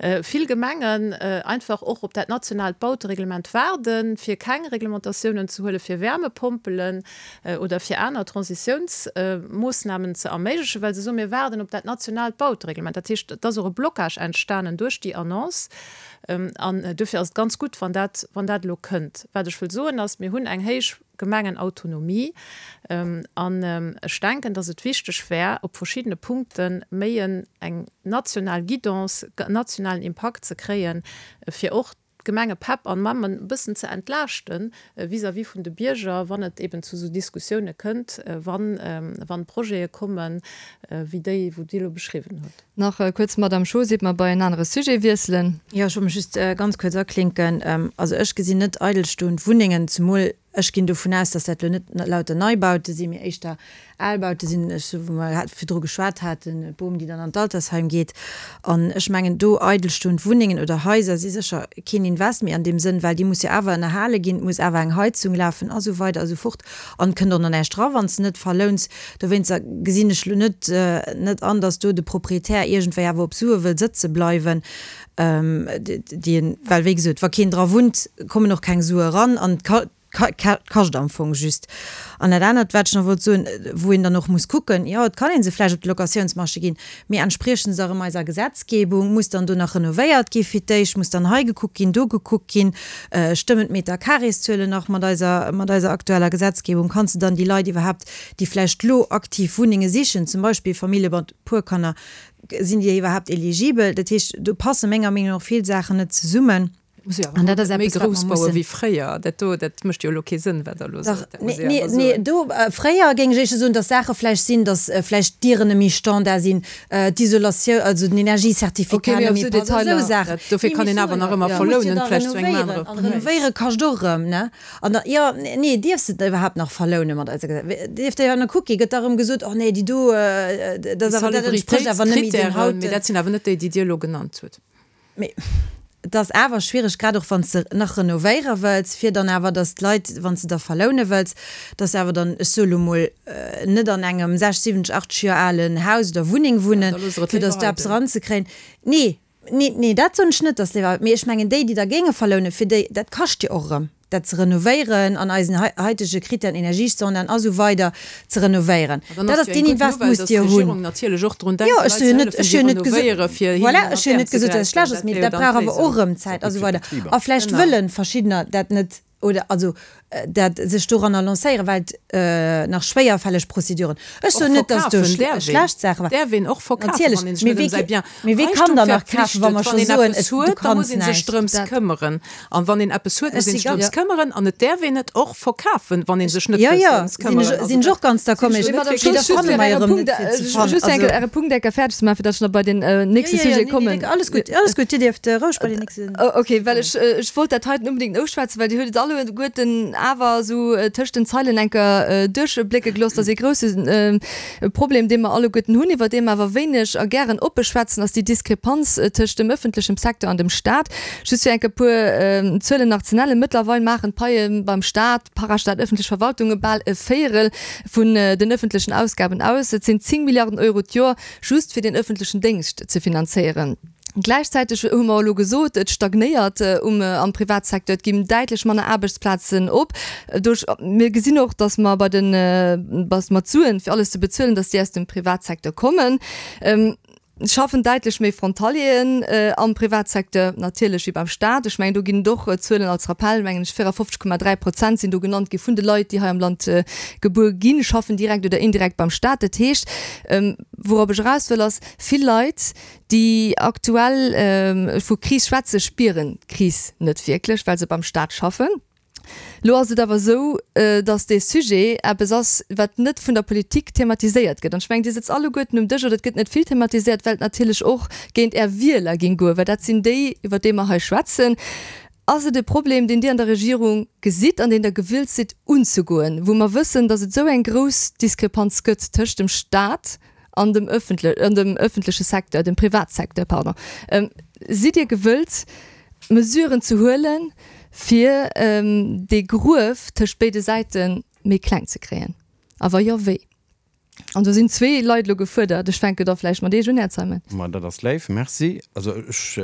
Vill Gemengen einfach och op dat nationaalt Bautereglement waarden, fir keng Reglementatiounen ze huele fir Wärmepompelen oder fir aner Transitiounsmoossnamen ze erméiglechen, well se soen, mir waarden op dat nationaalt Bautereglement. Dat heescht, et ass och e Blocage entstanen duerch déi Annonce. An duerfir ass et ganz gutt, wann dat, wann dat elo kënnt. Wat ech wëll soen ass, mir hunn eng héich Gemengenautonomie. An ech denken, dass et wichteg wär, op verschiddene Punkte méi eng national Guidance, nationalen Impakt ze kréien, fir och d'Gemengepäpp an mammen e bëssen ze entlaaschten vis-à-vis vun de Bierger, wann et eben zu esou Diskussioune kënnt, wann, wann Projete kommen, wéi déi, wou Dir elo beschriwwen hutt. Nach kuerz, Madamm Schoos, iert mer bei en anere Sujet wiesselen. Jo, ech wollt mech just ganz kuerz aklinken. Also ech gesinn net eidelstoend Wunnengen, zemol Ech ginn dovun aus, dass dat elo net lauter Neibaute sinn, mee éischter Albaute sinn, ech sou wou mer virdru geschwat haten, d'Bom, déi dann an d'Altersheim geet. An ech mengen, do eidelstoend Wunnengen oder Haiser si sécher keen Invest méi an deem Sënn, well déi muss jo awer ënnerhale ginn, et muss awer eng Heizung lafen a sou weider a sou fort. An et kënnt och nach näischt dra wann s de net verlouns. Dowéinster gesinn ech elo net net an, dass do de Proprietär iergendwéi awer op Sue wëll sëtze bleiwen. Déi en, well wéi gesot, wa keen dra wunnt, kommen och keng Sue eran an et kascht am Fong just. An dat anert, wat ech nach wollt soen, wou een dann och muss kucken, jo, et kann ee se vläicht op de Locatiounsmarché ginn, mee entspriechen se erëm eiser Gesetzgebung? Muss dann do nach renovéiert gi fir d'éischt? Muss dann hei gekuckt ginn, do gekuckt ginn? Stëmmen d'Metercarrészuelen nach mat eiser, mat eiser aktueller Gesetzgebung? Kanns de dann déi Leit iwwerhaapt, déi vläicht lo aktiv Wunnenge sichen, zum Beispill Famillje mat puer Kanner, Sinn déi iwwerhaapt eligibel? Dat heescht, do passe menger Meenung no och vill Saachen net zesummen. Muss jo awer haut méi grouss baue wéi fréier. Dat do, dat mécht jo elo kee Sënn, wat Der elo sot. Dat muss ee awer soen. Nee, do, fréier géing ech éischter soen, datt Saache vläicht sinn, datt vläicht d'Dieren net méi Standard sinn, d'Isolatioun, also den Energiecertificat net méi passt, esou Saachen. Dofir kann een awer nach ëmmer verlounen, vläicht zu engem anere Präis. An renovéiere kascht och erëm, ne? An da, jo, nee, dierfs de et iwwerhaapt nach verlounen mat eiser Gesell-, dierf der jo nach kucki, gëtt da erëm gesot, oh nee, déi do, dat ass awer, dat entsprécht awer net méi den hauten. Mee dat sinn awer net déi, déi Dir elo genannt hutt. Mee et ass awer schwiereg, grad och wann s de nach renovéiere wëlls, fir dann awer, datt d'Leit, wann s de da verloune wëlls, datt se awer dann, ech soe lo mol, net an engem 60, 70, 80 Joer alen Haus oder Wunneng wunnen, fir datt do eppes eranzekréien. Nee, Nee, nee, dat soen ech net, dass léiwer, mee ech mengen déi, déi da géinge verlounen, fir déi, dat kascht jo och erëm, dat ze renovéieren an eisen haitege Kritären, Energiestandarden a sou weider ze renovéieren. Dat ass deen Invest musst Dir hunn. Jo, ech hu jo net, ech hu jo net gesot, voilà, ech hu jo net gesot, dass et schlecht ass, mee dat brauch awer och erëm Zäit a sou weider. A vläicht wëlle verschiddener dat net oder also dat sech doranner lancéieren, well et nach schwéierfälleg Prozeduren. Ech soen net, datt do schlecht Saache waren. Däerf een och verkafen, wann een sech net ëm säi Bien. Mee wee kann dann nach kafen, wa mer scho soen, et du kanns näischt. Da muss ee sech drëms këmmeren. An wann een eppes huet, muss ee sech drëms këmmeren. An et däerf een et och verkafen, wann ee sech net wëllt drëms këmmeren. Jo, jo, sinn ech och ganz d'accord. Mee da fanne mer jo erëm net fir ze fannen. Just enke Äre Punkt enke fäerdeg ze maachen, fir datt ech nach bei den nächste Sujet kommen. Alles gutt, alles gutt. Dir dierft roueg bei den nächste. Ok, well ech, ech wollt dat heiten unbedingt nouschwätzen, well Dir huet et alleguerten awer esou tëscht den Zeilen enker duerchblécke gelooss, dass ee grousse Problem, dee mer alleguerten hunn, iwwer dee mer awer wéineg a gären oppe schwätzen, ass déi Diskrepanz tëscht dem ëffentlechem Secteur an dem Stat. Just fir enker e puer Zuelen nach ze nennen, Mëttlerweil maachen d'Paie beim Stat, Parastat, ëffentlech Verwaltunge bal e Véierel vun den ëffentlechen Ausgaben aus. Et sinn 10 Milliarden Euro d'Joer just fir den ëffentlechen Déngscht ze finanzéieren. Gläichzäiteg hu mer elo gesot, et stagnéiert um am Privatsecteur, et ginn däitlech manner Aarbechtsplazen op. Duerch, mir gesinn och, datt mer bei den, datt mer d'Suen, fir alles ze bezuelen, datt déi aus dem Privatsecteur kommen. Et schaffen däitlech méi Frontalieren am Privatsecteur natierlech wéi beim Staat. Ech mengen, do ginn et och Zuelen als Rappell, mengen ech, 54,3 Prozent sinn do genannt gi vun de Leit, déi hei am Land gebuer ginn, schaffen direkt oder indirekt beim Staat. Dat heescht, wourop ech eraus wëll, ass, vill Leit, Déi aktuell vu Kris schwätze spieren d'Kris net wierklech, well se beim Staat schaffen. Lo ass et awer esou, datt dee Sujet eppes ass, wat net vun der Politik thematiséiert gëtt. An ech mengen, Dir sëtzt alleguerten um Dësch, oder et gëtt net vill thematiséiert, well et natierlech och géint Är Wieler géing goen, well dat sinn déi, iwwer déi mer hei schwätzen. Ass et e Problem, deen Dir an der Regierung gesitt an deen Der gewillt sidd unzegoen, wou mer wëssen, datt et esou eng grouss Diskrepanz gëtt tëscht dem Staat an dem ëffentleche Secteur, dem Privatsecteur, pardon, sidd Dir gewëllt, Mesuren ze huelen, fir dee Gruef tëscht béide Säite méi kleng ze kréien? A wa jo, wéi? An do sinn zwee Leit elo gefuerdert. Ech fänke da vläicht mat Iech un, Här Zeimet. Ma dat ass léif, merci. Also ech.